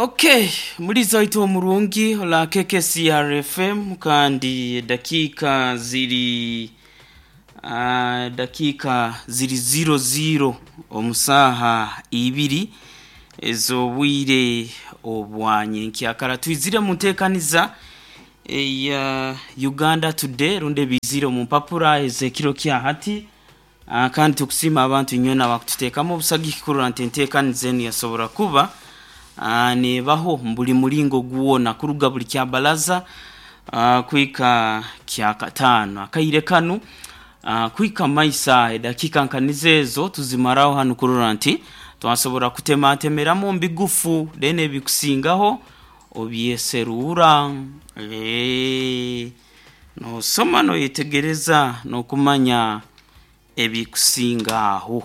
Okay, muliza waitu omurungi ola KKCR FM, kandi dakiika ziri dakiika ziri 00 omu saaha ibiri ez'obwire obwanyenkyakara. Twizire mu nteekaniza eya Uganda Today rundi ebiizire omu mpapura ez'ekiro kya hati. Kandi tukusiima abantu inywena abakututeekamu obusagiki kurora nti enteekaniza enu yasobora kuba neebaho mu buli mulingo gwona, kuruga buli kyabalaza kuhika kyakataano. Akaire kanu kuhika mumaiso aho edakiika nka nizo ezo tuzimaraho hanu kurora nti twasobora kutematemeramu omu bigufu, then ebikusingaho obyeseruura. Noosoma noyetegereza n'okumanya ebikusinga aho.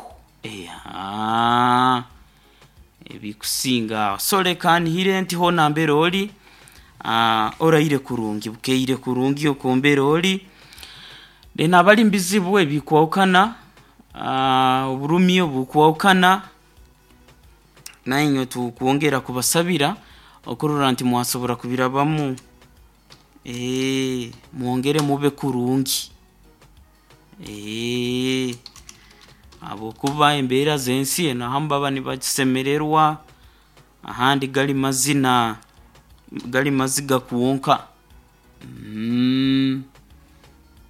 Ebikusinga aho. So leka nihire nti hoona nambere ori oraire kurungi, bukeire kurungi okwo mbere ori. Then abali mu bizibu ebikwahukana, oburumi obukwahukana, nainywe tukwongera kubasabira okurora nti mwasobora kubirabamu, mwongere mube kurungi. Habwokuba embeera z'ensi enu ahamu baba nibagisemererwa, ahandi gali mazina, gali maziga kwonka.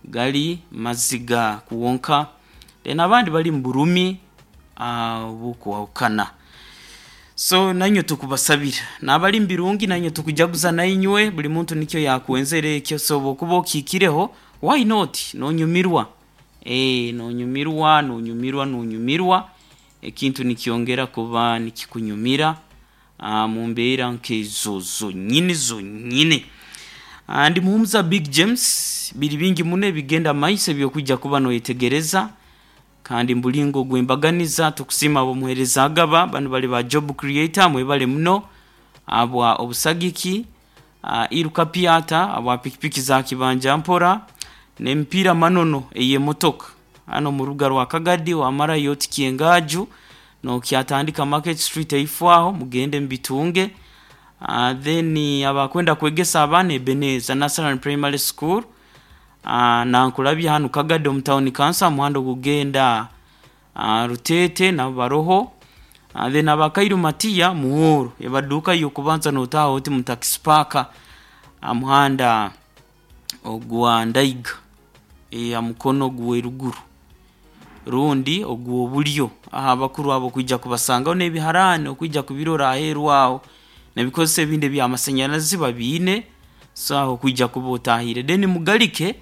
Gali maziga kwonka. Then abandi bali mu burumi obukwahukana. So nainywe tukubasabira. N'abali mu birungi nainywe tukujaguza nainywe, buli muntu nikyo yakwenzere ekyo, so obu okuba okihikireho, why not noonyumirwa. Noonyumirwa, noonyumirwa, noonyumirwa, ekintu nikyongera kuba nikikunyumira mu mbeera nk'ezo zonyini zonyini. Ndi Muhumuza Big James, biri bingi muno ebigenda mumaiso eby'okwija kuba noyetegereza, kandi mubulingo ogw'embaganiza tukusiima ab'omuheereza Agaba, banu bali ba job creator, mwebale muno habwa obusagiki. Iruka Piata habwa pikipiki za kibanja mpora n'emipiira manono ey'emotoka. Hanu omu rubuga rwa Kagadi wamarayo oti Kyengaju nokyatandika Market Street eifo aho mugende mubitunge. Then abakwenda kwegesa abaana Ebenezer Nursery and Primary School, nankulabya hanu Kagadi omu town council aha muhanda ogukugenda Ruteete nabo baroho. Then aba Kairu Matia Muhoro ebaduuka y'okubanza notaaha oti mu taxi park aha muhanda ogwa Ndaiga aha mukono gw'eruguru rundi ogw'oburyo. Aho abakuru abo okwija kubasangaho n'ebiharaani okwija kubirora aheeru aho n'ebikozeso ebindi eby'amasanyarazi babiine, so aho okwija kuba otaahire. Then mugarike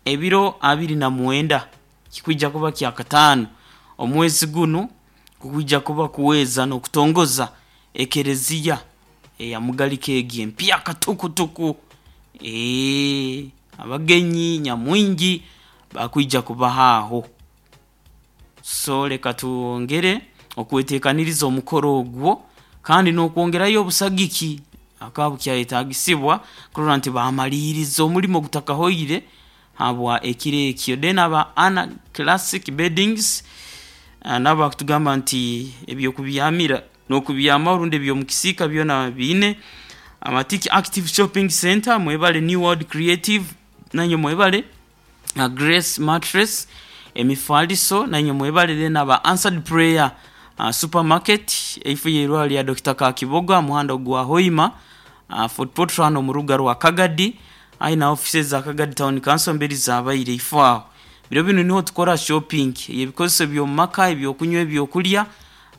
ebiro abiri na mwenda kikwija kuba kyakataano omwezi gunu kukwija kuba kuweeza n'okutongoza ekereziya eya Mugarika egi empyaka tukutuku. Abagenyi nyamwingi bakwija kubaho aho. So leka twongere okwetekaniriza omukoro ogwo kandi n'okwongerayo obusagiki hakaba bukyayetagisibwa kurora nti baamaliiriza omurimo gutakahoire habwa ekiro ekyo. Then aba Anna Classic Beddings nabo bakutugamba nti eby'okubyamira n'okubyamaho rundi eby'omu kisiika byona babiine. Amatiki Active Shopping Centre mwebale, New World Creative nainywe mwebale, Grace Mattress emifaliso nainywe mwebale, then aba Answered Prayer Supermarket eifo y'eirwaro lya Dokita Kakibogo aha muhanda ogwa Hoima Fort Portal hanu omu rubuga rwa Kagadi ahi na ofiisi eza Kagadi Town Council mberi zabaire ifo aho. Biro binu niho tukora shopping ey'ebikozeso eby'omu maka, eby'okunywa, eby'okulya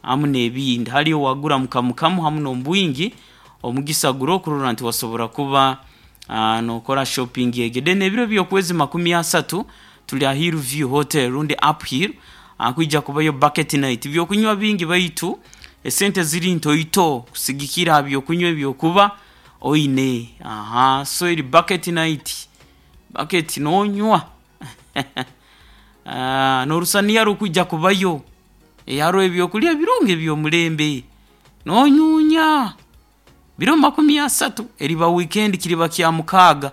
hamu n'ebindi. Haliyo wagura mu kamu kamu hamu n'omu bwingi, omugisa guroho kurora nti wasobora kuba nokora shopping egyo. Then ebiro by'okwezi makumi asatu tuli aha Hill View Hotel rundi Uphill, hakwija kubayo bucket night. Byokunywa bingi baitu esente ziri ntoito kusigikira aha byokunywa eby'okuba oine. So eri bucket night, bucket nonywa n'orusaniya rukwija kubayo. Haroho ebyokulya birungi eby'omulembe, nonyuunya. Biro makumi asatu eriba wiikendi kiriba kyamukaaga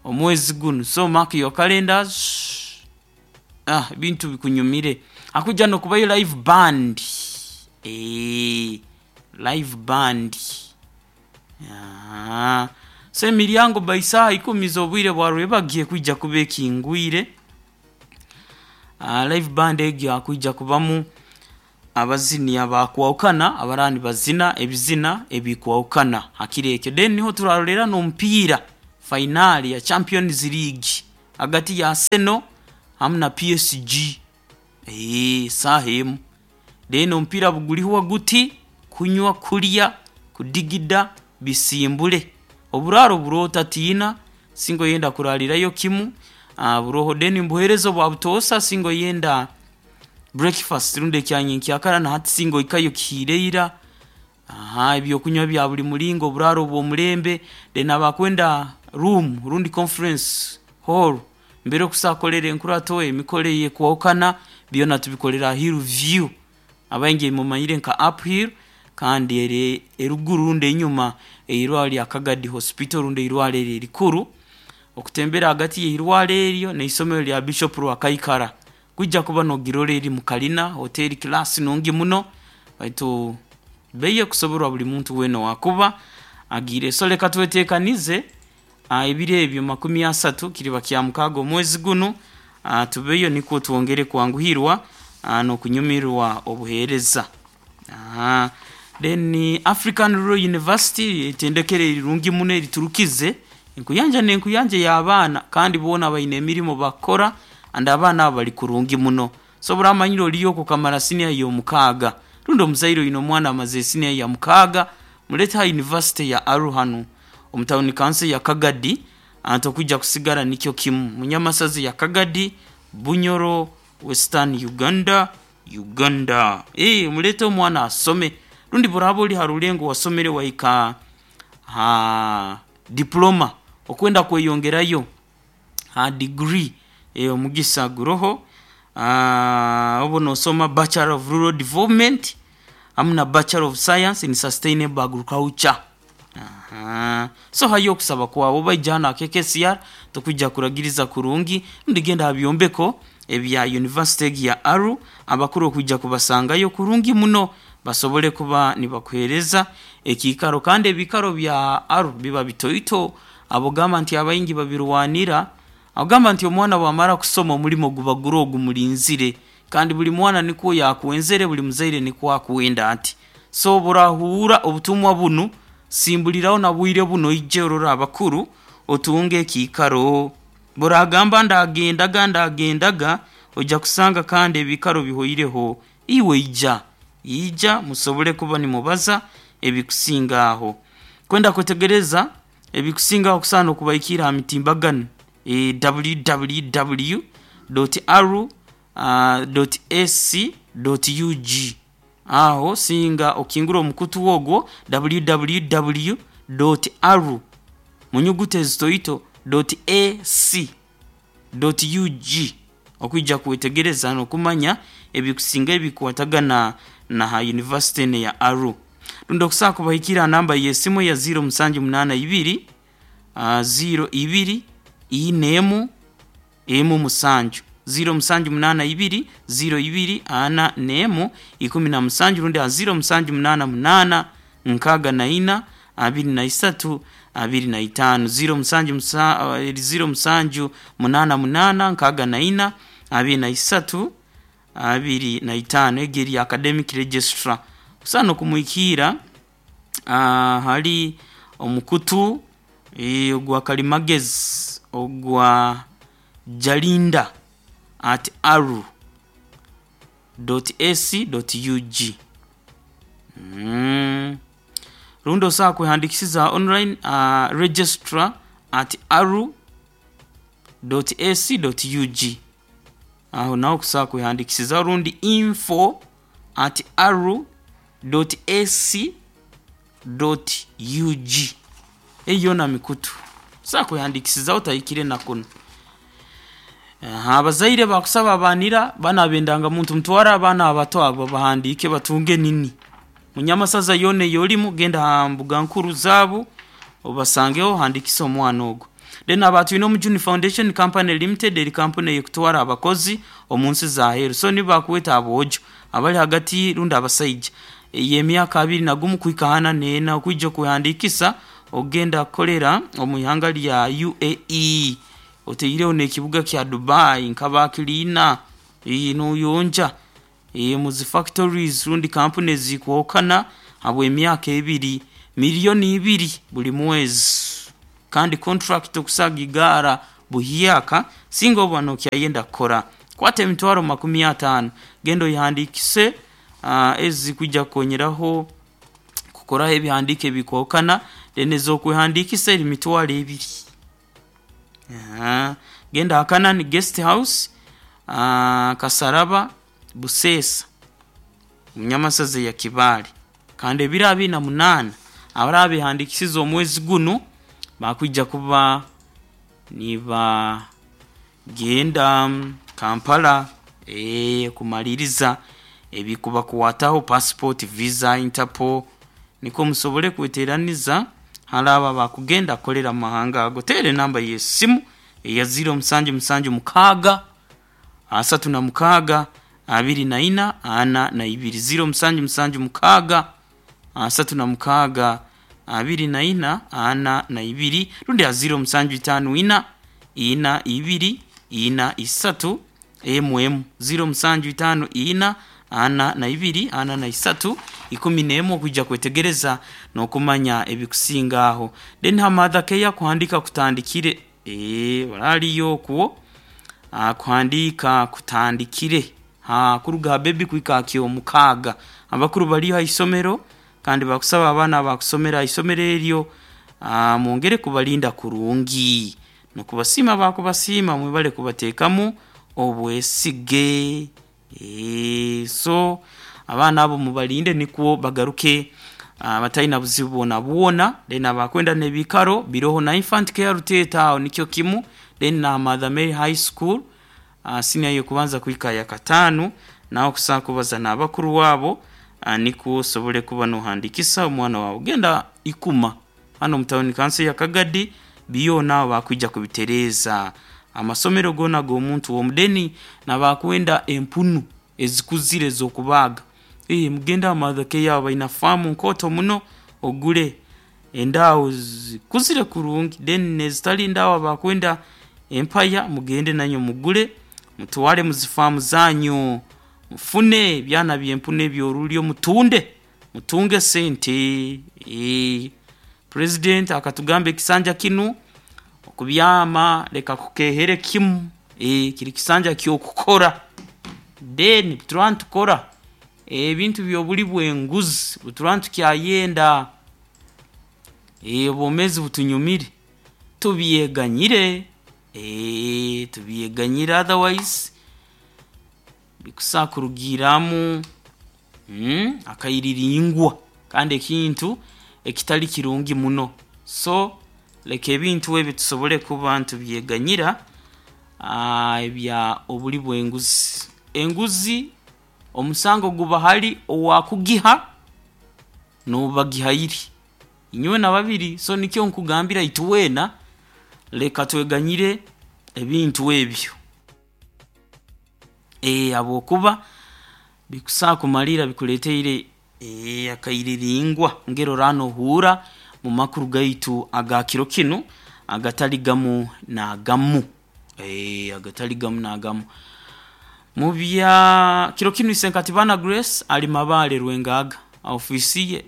omwezi gunu, so mark your calendars. Ebintu bikunyumire. Hakwija n'okubayo live band, live band. So emiryango by saaha ikumi z'obwire bwa rwebagyo ekwija kuba ekingwire. Live band egyo hakwija kubamu abazini abakwahukana abaraba nibazina ebizina ebikwahukana ha kiro ekyo. Then niho turarorera n'omupiira fainaali ya Champions League hagati ya Arsenal hamu na PSG saaha emu. Then omupiira bugurihwa guti, kunywa, kulya, kudigida bisimbule. Oburaaro buroho otatiina, singa oyenda kurarirayo kimu buroho. Then nibuheereza obwa butoosa singa oyenda breakfast rundi ekya nyenkyakara na hati singa ohikayo kihiire ira. Ebyokunywa bya buli muringo, oburaaro obw'omulembe. Then abakwenda room rundi conference hall mbere okusobola kukolera enkurato, emikoro eyekwahukana, byona tubikolera ha Hill View. Abaingi mumanyire nka Uphill kandi eri eruguru rundi enyuma ey'eirwarro rya Kagadi Hospital rundi eirwarro eryo erikuru. Okutembera hagati y'eirwarro eryo n'eisomero rya Bishop Rwakaikara, kwija kuba nogirora eri mu kalina, hoteeri class nungi muno baitu bei ekusoborwa buli muntu weena owaakuba agiire. So leka tweteekanize ebiro ebyo makumi asatu kiriba Kyamukaaga omwezi gunu tubeyo nikwo twongere kwanguhirwa n'okunyumirwa obuheereza. Then African Rural University eitendekero erirungi muno eriturukize enkuyanja n'enkuyanja ey'abaana kandi boona baine emirimo bakukora and abaana abo bali kurungi muno. So oburamanyire oriyo okwo okamara siniya y'omukaaga rundi omuzaire oine omwana amazire siniya ya mukaaga, muleete ha yunivasite ya Aruu hanu omu tawuni kanso eya Kagadi tokwija kusigara nikyo kimu. Munyamasaza ya Kagadi, Bunyoro, Western Uganda, Uganda. Muleete omwana asome rundi bworaaba ori ha rulengo wasomere wahika ha diploma okwenda kweyongerayo ha degree omugisa guroho. Obu nosoma Bachelor of Rural Development hamu na Bachelor of Science in Sustainable Agriculture. So hayo okusaba kwawe oba ija hanu aha KKCR tukwija kuragiriza kurungi rundi genda ha byombeko ebya yunivasite egi ya Aruu abakuru okwija kubasangayo kurungi muno basobole kuba nibakuheereza ekiikaro kandi ebiikaro bya Aruu biba bitoito abogamba nti abaingi babirwanira ogamba nti omwana bwamara kusoma omurimo guba guroho gumurinzire kandi buli mwana nikwo yakwenzere buli muzaire nikwo akwenda ati. So obu orahuura obutumwa bunu simbuliraho na bwire bunu oije orore abakuru otunge ekiikaro. Bw'oragamba ndagendaga ndagendaga oija kusanga kandi ebiikaro bihoireho. Iwe ija, ija musobole kuba nimubaza ebikusinga aho. Kwenda kwetegereza ebikusingaho okusobola n'okubahikiira ha mitimbagano www.aru.ac.ug aho singa okingura omukutu ogwo www.aru mu nyuguta ezitoito .ac.ug okwija kwetegereza n'okumanya ebikusingayo ebikwatagana na ha yunivasite enu eya Aruu. Rundi okusobola kubahikiira ha namba y'esimu eya ziiro musanju munaana ibiri, ziiro ibiri, ina emu, emu musanju. Ziiro musanju munaana ibiri, ziiro ibiri, ana n'emu, ikumi na musanju rundi ha ziiro musanju munaana munaana, nkaaga na ina, abiri na isatu, abiri na itaano. Ziiro musanju ziiro musanju munaana munaana, nkaaga na ina, abiri na isatu, abiri na itaano. Egyo eri academic registrar. Okusobola n'okumuhikiira hali omukutu ogwa kalimagezi ogwa jalinda at aru dot ac dot ug. Rundi osobola kwehandikisiza online registrar at aru dot ac dot ug. Aho naho okusobola kwehandikisizaho rundi info at aru dot ac dot ug. Eyo yoona mikutu osobola kwehandikisizaho otahikire na kunu. Abazaire bakusaba abaanira banu ab'endangamuntu mutware abaana abato abo babahandiike batunge nini. Munyamasaza yoona ey'orimu genda ha mbuga nkuru zaabu obasangeho ohandikise omwana ogwo. Then aba Twinomujuni Foundation Company Limited eri kampuni eyekutwara abakozi omu nsi za aheeru. So nibo bakweta aboojo abali hagati rundi abasaija. Ey'emyaka 21 kuhika 44 okwija kwehandiikisa okugenda kukolera omu ihanga lya UAE, otaireho n'ekibuga kya Dubai nka cleaner, noyonja mu zi factories rundi kampuni ezikwahukana habw'emyaka 2, 2 million buli mwezi, kandi contract okusobola kugigaara buhyaka singa oba nokyayenda kukora. Kwata 50,000 genda oyehandiikise, ezi zikwija kukonyeraho kukoraho ebihandiiko ebikwahukana, then ez'okwehandiikisa eri 20,000. Genda ha Canaan Guest House, Kasaraba, Buseesa, omu Nyamasaza eya Kibaale. Kandi ebiro 28 abaraba behandiikisize omwezi gunu bakwija kuba nibagenda Kampala kumaliriza ebikubakwataho passport, visa, interpol, nikwo musobole kweteraniza hali abo abakugenda kukolera omu mahanga ago. Teera enamba y'esimu eya 0776 36 24 42, 0776 36 24 42, rundi ha 0754 42 43 1, 0754 42 43 11 okwija kwetegereza n'okumanya ebikusinga aho. Then ha Mother Care kuhandiika kutandikire, oraliyo okwo, kuhandiika kutandikire kuruga ha baby kuhika ha kyomukaaga. Abakuru bariyo ha isomero kandi bakusaba abaana abakusomera ha isomero eryo mwongere kubalinda kurungi. N'okubasiima bakubasiima mwebale kubateekamu obwesige. So abaana abo mubalinde nikwo bagaruke bataine buzibu bwonabwona. Then abakwenda n'ebiikaro biroho na Infant Care Ruteeta aho nikyo kimu, then na Mother Mary High School, senior y'okubanza kuhika yakataano, nawe okusobola kubaza n'abakuru abo nikwo osobole kuba nohandiikisa omwana waawe. Genda Ikuma hanu omu tawuni kanso ya Kagadi, byona aho bakwija kubitereeza. Amasomero goona ag'omuntu w'omudeni n'abakwenda empunu ezikuzire ez'okubaaga, mugende aha Mother Care aho baina faamu nkooto muno ogule endaaho zikuzire kurungi, then n'ezitali ndaaho abakwenda empaya mugende nainywe mugule mutwale mu zifaamu zanyu mufune ebyana by'empunu eby'orulyo mutunde mutunge sente. Purezidenti akatugamba ekisanja kinu okubyama leka kukeehere kimu, kiri kisanja ky'okukora. Then turaba nitukora ebintu by'obuli bw'enguzi buturaba nitukyayenda obwomeezi butunyumire tubyeganyire, tubyeganyire otherwise bikusobola kurugiiramu akairiringwa kandi ekintu ekitali kirungi muno. So leka ebintu ebyo tusobole kuba nitubyeganyira ebya obuli bw'enguzi. Enguzi omusango guba hali owaakugiha n'oubagihaire, inywena babiri. So nikyo nkugambira itwena leka tweganyire ebintu ebyo, habwokuba bikusobola kumalirra bikuleeteire akairiringwa engeri oraaba noohuurra omu makuru gaitu aga kiro kinu agatali gamu n'agamu, agatali gamu n'agamu. Mu bya kiro kinu Isenkatibana Grace ali Mabaale Rwengaaga ha ofiisi ye,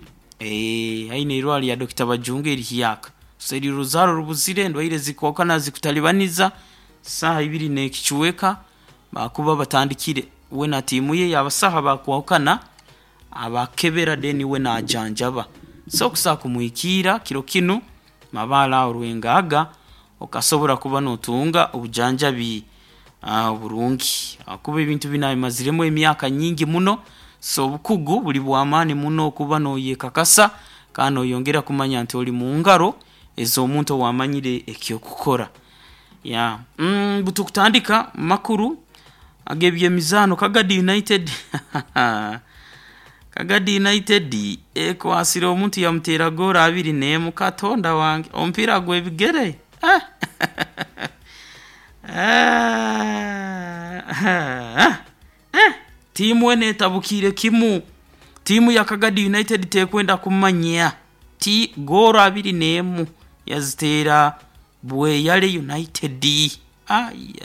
haihi n'eirwarro lya Dokita Bajunga erihyaka. So eri oruzaaro rubuzire, endwaire zirikwahukana zikutalibaniza, saaha ibiri n'ekicweka baakuba batandikire we na tiimu ye y'abasaho abakwahukana abakebera then we naajanjaba. So okusobola kumuhikiira kiro kinu Mabaale aho Rwengaaga okasobora kuba nootunga obujanjabi oburungi ahakuba ebintu binu abimaziremu emyaka nyingi muno, so obukugu buri bw'amaani muno okuba nooyekakasa kandi nooyongera kumanya nti ori mu ngaro ez'omuntu owaamanyire eky'okukora. Yeah. Butukutandika makuru ag'ebyemizaano Kagadi United Kagadi United ekwasire omuntu yamuteera goolo 21, Katonda wange omupiira gw'ebigere. Tiimu enu etabukiire kimu. Tiimu ya Kagadi United tekwenda kumanya ti goolo 21 yaziteera Bweyale United. Ai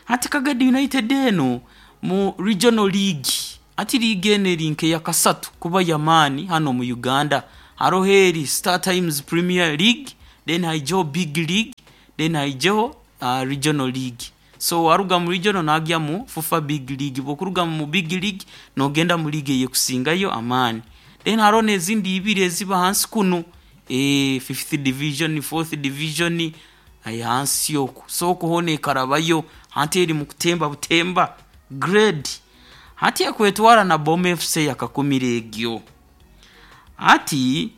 hati Kagadi United eno mu Regional League, ati liigi eno eri nk'eya kasatu kuba y'amaani hanu omu Uganda. Haroho eri Star Times Premier League, then haijaho Big League, then haijaho Regional League. So waruga mu Regional naagya mu FUFA Big League, bw'okuruga mu Big League noogenda mu liigi eyekusingayo amaani. Then haroho n'ezindi ibiri eziba hansi kunu, fifth division, fourth division, hansi oku. So oku hoona ekarabayo, hati eri mu kutemba butemba grade. Hati ekwetwara na Boma FC eyakakumire egyo. Hati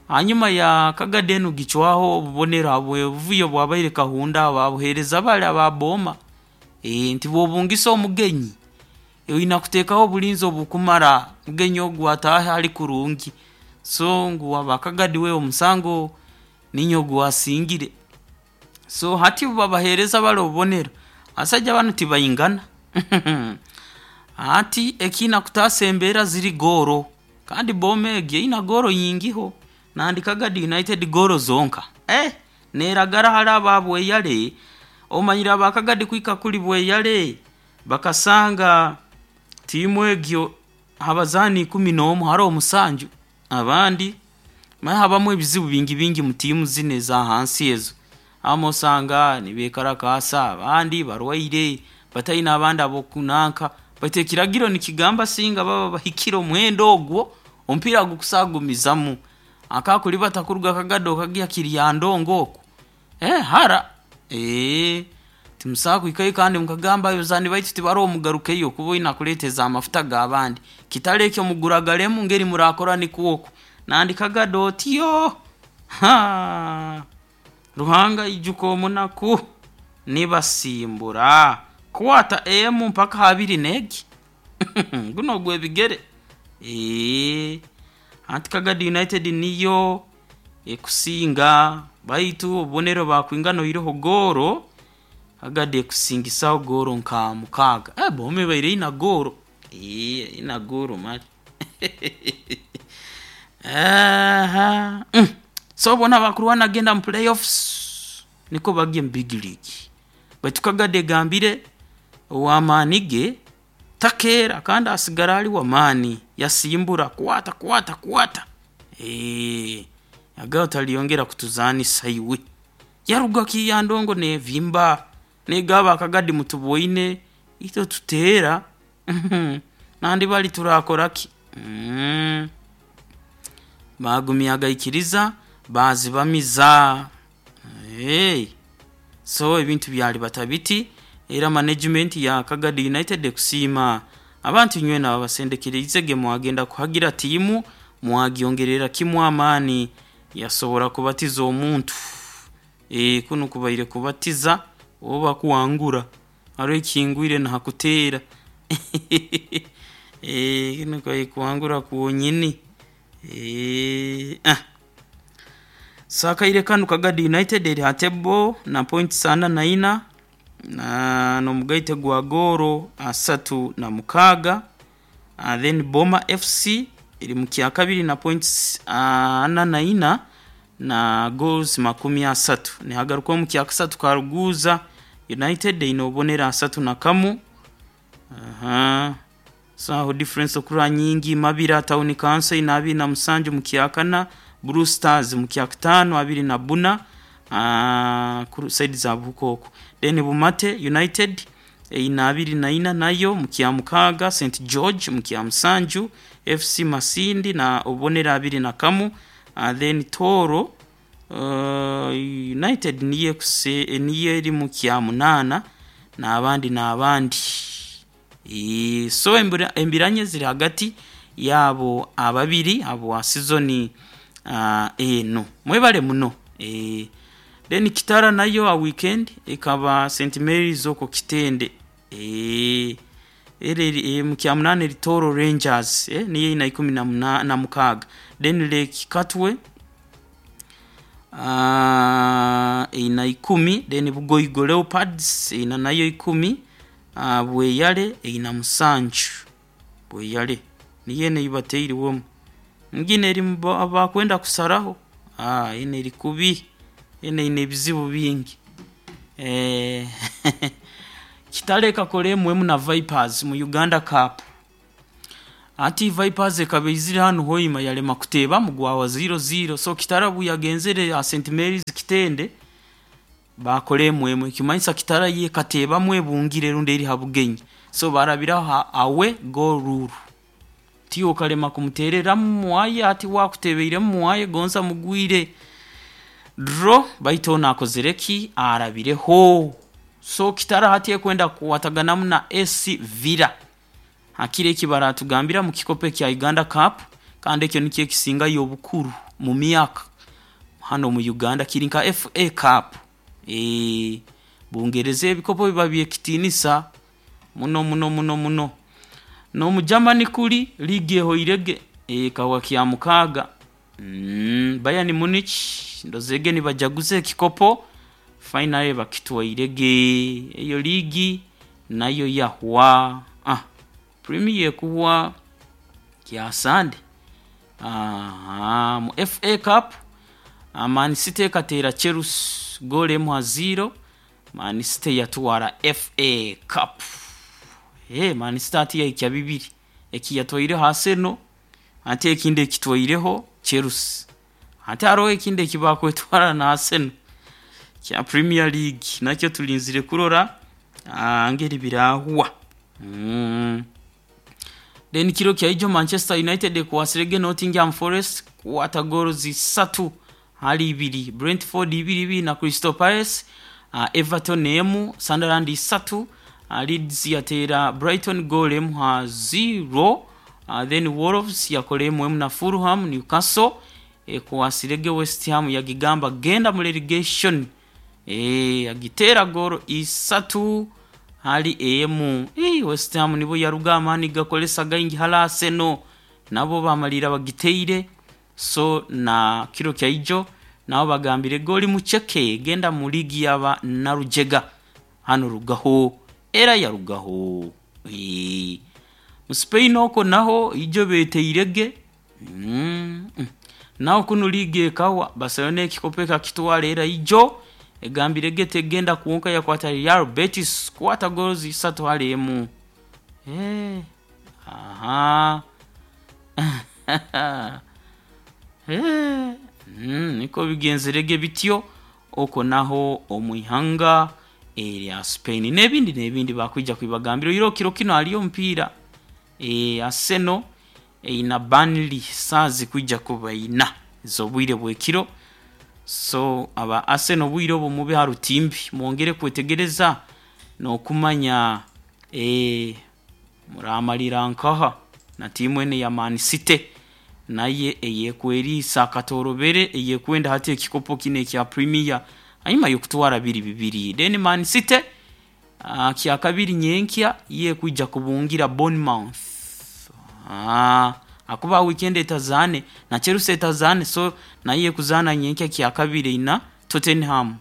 hanyuma ya Kagadi enu gicwaho obubonero habw'obuvuyo obwabaire Kahunda babuheereza bali aba Boma. Nti bw'obungisa omugenyi, oina kuteekaho obulinzi obukumara omugenyi ogu ataahe ali kurungi. So ngu aba Kagadi we omusango niinywe ogwasingire. So hati obu babaheereza bali obubonero, abasaija banu tibaingana. Hati ekiina kutaasa embeera ziri goolo, kandi Boma egi eine goolo nyingiho, nandi Kagadi United goolo zonka. Neeragara hali aba Bweyale, omanyire aba Kagadi kuhika kuli Bweyale, bakasanga tiimu egyo ha bazaani 11 haroho musanju, abandi manya habamu ebizibu bingi bingi mu tiimu zinu eza hansi ezo. Abamu osanga nibeekalakaasa, abandi barwaire, bataine abandi ab'okunanka, baitu ekiragiro nikigamba singa baba bahikire omuhendo ogwo, omupiira gukusagumizamu. Akakulibata kuruga Kagadi okagya Kiryandongo oku, hara, timusobola kuhikayo kandi mukagamba abazaani baitu tibaroho mugarukeyo kuba oina kuleeteza amafuta g'abandi. Kitali ekyo muguragalemu ngeri muraakora nikwo oku. Nandi Kagadi otyo, Ruhanga aijuka omunaku, nibasimbura. Kwata emu mpaka ha abiri n'egi, gunu ogw'ebigere. Hati Kagadi United niyo ekusinga baitu obubonero baakwingana oihireho goolo, Kagadi ekusingisaho goolo nka 6. Boma ebaire ina goolo, ina goolo mali. So boona abakurwana kugenda mu play-offs nikwo bagye mu Big League. Baitu Kagadi egambire ow'amaani ge takeera kandi asigara ali w'amaani, yasimbura kwata kwata kwata, yagamba otalyongera kutuzaanisa iwe. Yaruga Kiryandongo neevimba, neegamba aba Kagadi mutuboine, itwe tuteera, nandi bali turaakora ki? Baagumya gaikiriza baazibamiza. So ebintu byalibata biti, era management ya Kagadi United ekusiima abantu inywena ababasendekeriizege mwagenda kuhagira tiimu, mwagyongerera kimu amaani yasobora kubatiza omuntu. Kunu kubaire kubatiza oba kuhangura, haroho ekihingwire nahakuteera. Kunu kubaire kuhangura kwonyini. So akaire kanu Kagadi United eri ha table na points 44 n'omugaite gwa goolo 36, then Boma FC eri mu kyakabiri na points 44 na goals 30. Nihagarukaho omu kyakasatu Karuguuza United eine obubonero 31. So aho difference okurora nyingi, Mabira Town Council eine 27 mu kyakana, Blue Stars mu kyakataano 24, ku side za Buhuka oku. Then Bumate United eine 24 nayo mu kyamukaaga, St George mu kyamusanju, FC Masindi na obubonero 21, then Tooro United niyo niyo eri mu kyamunaana n'abandi n'abandi. So embiranye ziri hagati y'abo ababiri habwa sizoni enu. Mwebale muno. Then Kitara nayo ha weekend ekaba St Mary's okwo Kitende. Era eri mu kyamunaana eri Tooro Rangers, niyo eine 16. Then Lake Katwe eine 10, then Bugoigo Leopards eine nayo 10. Bweyale eine 7. Bweyale niyo enu eibateirwemu. Nginu eri bakwenda kusaraho, enu eri kubi, enu eine ebizibu bingi. Kitara ekakora emu emu na Vipers mu Uganda Cup. Hati Vipers ekaba eizire hanu Hoima yarema kuteebamu, gwahwa 0-0. So Kitara obu yagenzere ha St Mary's Kitende, baakora emu emu, ekimanyisa Kitara yo ekateebamu ebungire rundi eri ha bugenyi. So baarabiraho ha away goal rule. Tiwe okalema kumuteereramu muwaye, hati we akuteebeiremu muwaye gonza mugwire draw, baitu onu akozere ki? Arabireho. So Kitara hati ekwenda kukwataganamu na SC Villa hakiro eki baratugambira mu kikopo ekya Uganda Cup, kandi ekyo nikyo ekisingayo obukuru mu myaka hanu omu Uganda, kiri nka FA Cup. Bungereza ebikopo biba by'ekitiinisa muno muno muno muno. N'omu Germany kuri liigi ehoirege, ekahwa Kyamukaaga. Bayern Munich ndozere ge nibajaguza ekikopo, finally bakitwairege. Eyo liigi nayo yahwa. Premier ekuhwa kya Sande. Mu FA Cup, Man City ekateera Chelsea goolo emu ha 0, Man City yatwara FA Cup. Man City hati yahikya bibiri, eki yatwaireho Arsenal, hati ekindi ekitwaireho Chelsea. Hati haroho ekindi eki bakwetwara na Arsenal kya Premier League, nakyo tulinzire kurora ngeri birahwa. Then kiro kyaijo Manchester United ekwasirege Nottingham Forest kukwata goals 3-2, Brentford 2-2 na Crystal Palace, Everton 1, Sunderland 3, Leeds yateera Brighton goal 1-0, then Wolves yakora 1-1 na Fulham. Newcastle ekwasirege West Ham yagigamba genda mu relegation, yagiteera goolo 3-1. West Ham nibo yaruga amaani gakolesa gaingi hali Arsenal, nabo bamalirra bagiteire. So na kiro kyaijo nabo bagambire goli muceke genda mu liigi yaba Narujega hanu rugaho era yarugaho. Mu Spain okwo naho ijo beteirege. Naho kunu liigi ekahwa, Barcelona ekikopo ekakitwara era ijo egambire tegenda kwonka yakwata Real Betis kukwata goals 3-1. Aha. Nikwo bigenzerege bityo okwo naho omu ihanga erya Spain. N'ebindi n'ebindi bakwija kubibagambira. Oihireho kiro kinu haliyo omupiira, Arsenal eine Burnley saaha zikwija kuba ina ez'obwire bw'ekiro. So aba Arsenal obwire obu mube ha rutimbi mwongere kwetegereza n'okumanya muramalira nkaha na tiimu enu eya Man City nayo eyekweriisa akatorobere eyekwenda hati ekikopo kinu ekya Premier hanyuma y'okutwara biri bibiri. Then Man City kyakabiri nyenkya yo ekwija kubungira Bournemouth. Hakuba weekend etazaane na Chelsea etazaane, so nayo ekuzaana nyenkya kyakabiri na Tottenham.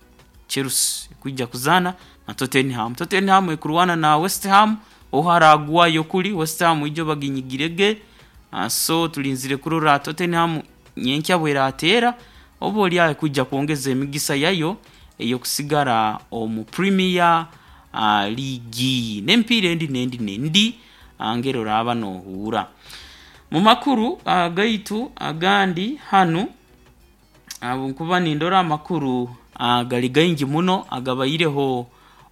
Chelsea ekwija kuzaana na Tottenham. Tottenham ekurwana na West Ham oha aragwayo kuri West Ham ijo baginyigirege. So tulinzire kurora Tottenham nyenkya bwerateera oba oli aho ekwija kwongeza emigisa yayo ey'okusigara omu Premier League. N'emipiira endi n'endi n'endi ngeri oraaba noohuura. Mu makuru gaitu agandi hanu, habwokuba nindora amakuru gali gaingi muno agabaireho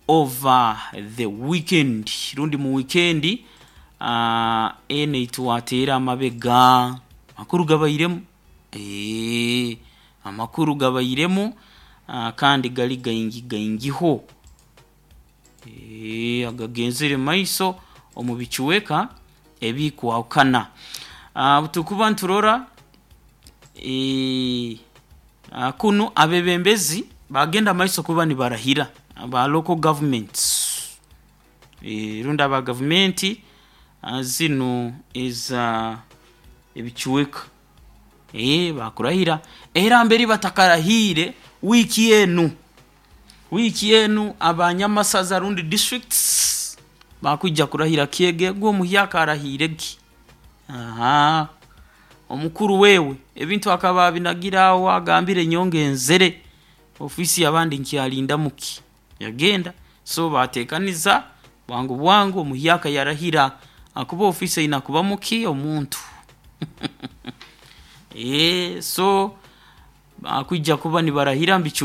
over the weekend rundi mu weekend enu eitwateera amabega. Amakuru gabairemu, amakuru gabairemu kandi gali gaingi gaingiho, agagenzere mumaiso omu bicweka ebikwahukana. Obu tukuba niturora kunu abeebembezi baagenda mumaiso kuba nibarahira aba local governments, rundi aba gavumenti zinu eza ebicweka, baakurahira. Era mbere batakarahiire wiiki enu, wiiki enu abanyamasaza rundi districts. Bakwija kurahira kyegegwa omuhyaka arahiirege. Ahaa, omukuru wewe ebintu akaba abinagire aho, agambire nyowe ngenzere, ofiisi y'abandi nkyalindamuki, yagenda. So baateekaniza bwangu bwangu omuhyaka yarahira akuba ofiisi aina kubamu ki? Omuntu. So bakwija kuba nibarahira mbicu.